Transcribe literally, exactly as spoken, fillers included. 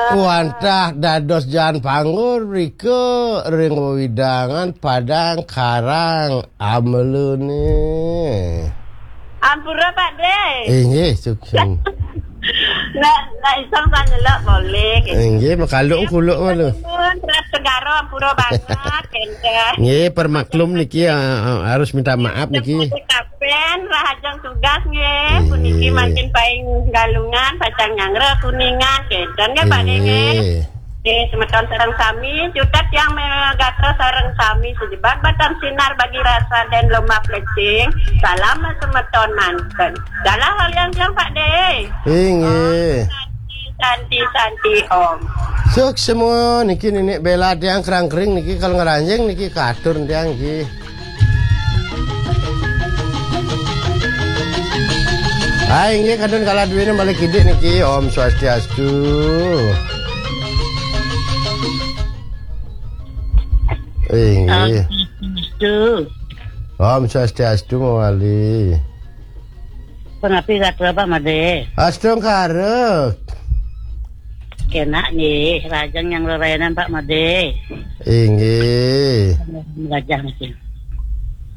Wantah dados jaan panggur mrika ring wewidangan Padang Karang Amelune. Ampura, Pak De. Inggih, suksma. Nak, nak iseng sane lek boleh. Inggih, makaluk kuluk malu. Nuwun, Teras Segara, ampura banget, kenten. Nggih, permaklum niki, ah, ah, harus minta maaf niki. Kapen, rahajeng tugas nggih. Inggih. Puniki mangkin paing Galungan, pacang nyanggra Kuningan, kenten nggih, Pak De, nggih. Inggih. Nggih, semeton sareng sami, cutet yang megatra sareng sami, sejebat batang sinar bagi rasa dan lomak plecing. Salam semeton manten. Dalah waliang tiang, Pak De. Inggih. Santi, santi, santi, Om. Suksma niki Ninik Bela tiang kerang kering niki kal ngranjing niki katur tiang niki. Hai, inggih kadun kala duwene balik kidik niki. Om Swastiastu. Inggih. Om Swastiastu. Om Swastiastu mawali. Punapi gatra, Pak Made? Astungkara. Kenak nggih, lajeng yang lelayanan, Pak Made. Inggih. Lajeng niki.